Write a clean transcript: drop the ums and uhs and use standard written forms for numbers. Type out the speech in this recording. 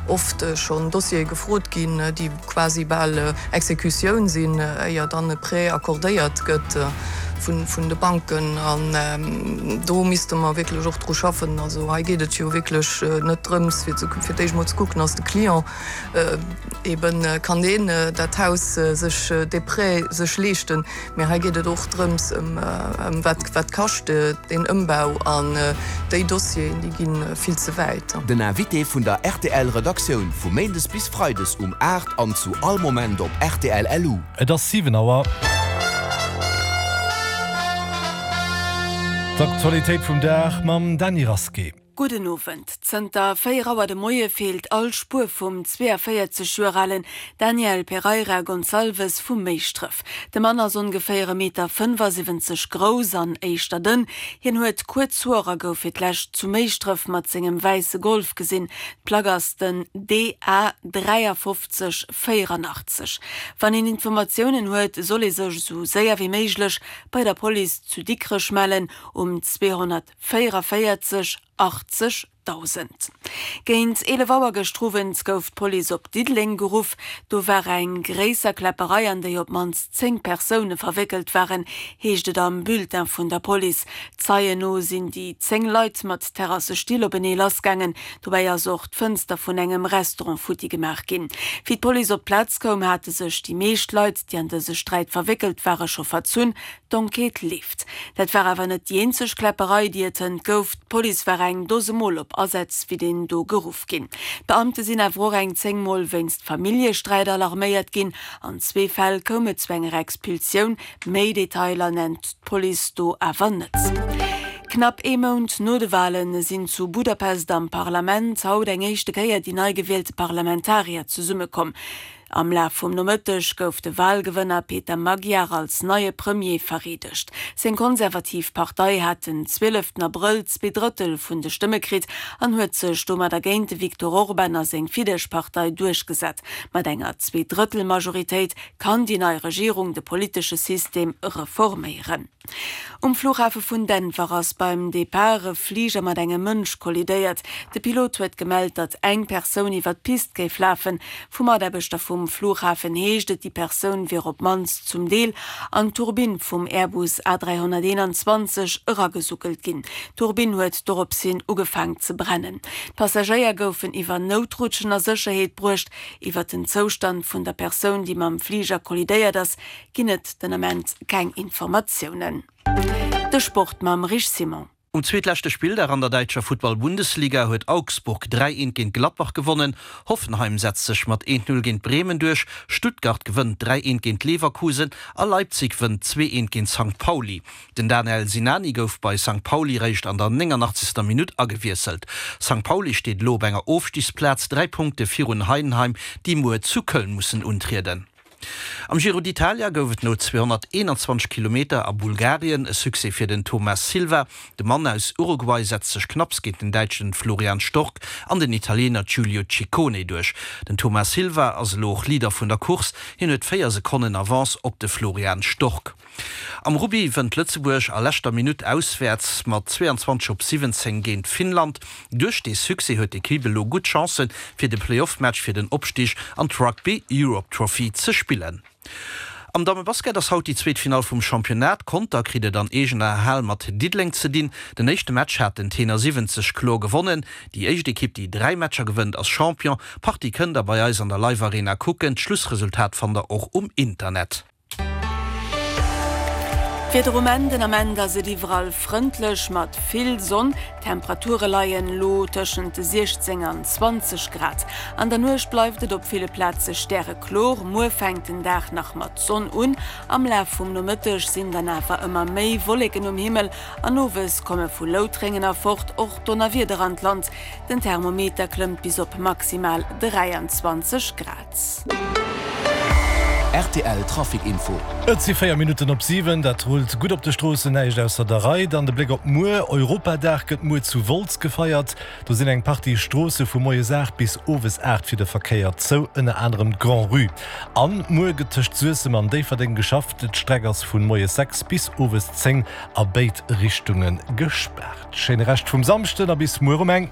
oft schonn Dossiere gefrot ginn, déi quasi bal Exekutioun sinn, éier dann e Prêt accordéiert gëtt vun de Banken. An do misste mer wierklech och dru schaffen. Also hei geet et jo wierklech net drëms, fir fir d'éischt emol ze kucken, ass de Client eben, kann deen dat Haus sech, dee Prêt sech leeschten. Mee hei geet et och drëms, ëm wat, wat kascht deen Ëmbau an déi Dossieren, déi gi vill ze wäit. Den Invité vun der rtl Redaktioun vu Méindes bis Freides um 8 an zu all Moment op rtl LU. Et ass 7 Auer. D'Aktualitéit vum Dag mam Dany Rasqué. Gudden Owend. Zënter 4 Auer de Moie feelt all Spuer vum 42 Joer alen Daniel Pereira Gonçalves vu Méischdref. De Mann ass ongeféier e Meter 75 grouss an éischter dënn. Hien huet kuerz Hoer a gouf fir d'lescht zu Méischdref mat sengem wäisse Golf gesinn. D'Plack ass den DA 53 84. Wann een Informatiounen huet, soll ee sech esou séier wéi méiglech bei der Police zu Dikrech mellen um 200. 44 80 1.000. Géint 11 Auer gëschter Owend gouf d'Police op Diddeleng geruff. Do war eng gréisser Kläpperei, an déi op d'mannst 10 Persoune verwéckelt waren, heescht et am Bulletin vun der Police. Zeien no sinn déi 10 Leit mat Terrassestill openee lassgaangen. Dobäi ass och d'Fënster vun engem Restaurant futti gemaach ginn. Wéi d'Police op d'Plaz koum, hate sech déi meescht Leit, déi an dëse Sträit verwéckelt ware scho verzunn. D'Enquête leeft. Dat war awer net déi eenzeg Kläpperei, déi et hënt gouf. D'Police war eng Dose Mol op Asätz wéi deen do geruff ginn. D'Beamte sinn awer och eng 10 Mol wéinst Familljesträit alarméiert ginn. An zwee Fäll koum et zu enger Expulsioun. Méi Detailer nennt d'Police do awer net. Knapp ee Mount no de Wale sinn zu Budapest am Parlament haut eng éischte Kéier déi nei gewielte Parlamentarier zesummekomm. Am Laf vum Nomëtteg gouf de Walgewënner Peter Magyar als neie Premier vereedegt. Seng konservativ Partei hat den 12 Abrëll zweedrëttel vun de Stëmme kritt an huet sech domadder géint de Viktor Orban a seng Fidesz-Partei duerchgesat. Mat enger Zweedrëttel-Majoritéit kann déi nei Regierung de politesche System reforméieren. Um Flughafe vun Denver ass beim Depart e Fliger mat engem Mënsch kollidéiert. De Pilot huet gemellt, datt eng Persoun iwwer d'Pist géif lafen. Vu Mataarbechter vum Flughafen heescht et, déi Persoun wier op d'mannst zum Deel an d'Turbinn vum Airbus A321 eragesuckelt ginn. D'Turbinn huet dorops hin ugefaang ze brennen. D'Passagéier goufen iwwer Noutrutschen a Sécherheet bruecht. Iwwer den Zoustand vun der Persoun, déi mam Fliger kollidéiert ass, ginn et den Ament keng Informatiounen. De Sport mam Rich Simon. Um zweetleschte Spilldag an der däitscher Futtball-Bundesliga huet Augsburg 3, 1 géint Gladbach gewonnen. Hoffenheim setzt sech mat 1, 0 géint Bremen duerch, Stuttgart gewënnt 3, 1 géint Leverkusen a Leipzig wënnt 2, 1 géint Sankt Pauli. Den Danel Sinani gouf bei Sankt Pauli réischt an der 89. Minutt agewiesselt. Sankt Pauli steet elo op enger Ofstigsplaz, 3 Punkte virun Heidenheim, déi muer zu Köln mussen untrieden. Am Giro d'Italia gouf et no 221 Kilometer a Bulgarien e Succès fir den Thomas Silva. De Mann aus Uruguay setzt sech knapps géint den Däitschen Florian Stork an den Italiener Giulio Ciccone duerch. Den Thomas Silva ass elo och Leader vun der Course, hien huet 4 Sekonnen Avance op de Florian Stork. Am Rugby wënnt Lëtzebuerg a leschter Minutt auswäerts mat 22 op 17 géint Finnland. Duerch dee Succès huet d'Equipe elo gutt Chancen, fir de Playoff-Match fir den Opstig an d'Rugby Europe Trophy ze spillen. Am Dammebasket ass haut déi zweet Finall vum Championnat. Conter kritt et an eegener Hal mat Diddeleng ze dinn. Den éischte Match hat den Tenor 70 kloer gewonnen. Déi éischt Ekipp, déi 3 Matcher gewënnt, ass Champion. D'Partie kënnt der bei eis an der Live Arena kucken. D'Schlussresultat fannt der och um Internet. D'Wieder um Enn, Den Ament ass et iwwerall frëndlech mat vill Sonn. D'Temperature leien elo tëschent 16 an 20 Grad. An der Nuecht bleift et op ville Plaze stäreklor. Muer fänkt den Dag nach mat Sonn un, am Laf vum Nomëtteg sinn dann awer ëmmer méi Wolleken um Himmel an owes komme vu Loutrengen erfort och Donnerwieder an d'Land. Den Thermometer klëmmt bis op maximal 23 Grad. Rtl Trafic Info. Et si 4 Minutten op 7. Dat rullt gutt op de Stroossen, näischt ausser der Rei. Dann de Bléck op muer. Europadag gëtt muer zu Wolz gefeiert. Do sinn eng Partie Stroosse vu moies 8 bis owes 8 fir de Verkéier zou, ënner anerem d'Grand-Rue. An muer gëtt tëscht Suessem an Déifferdeng geschafft. D'Streck ass vu moies 6 bis owes 10 a béid Richtunge gespaart. Schéine Rescht vum Samschden a bis muer um eng.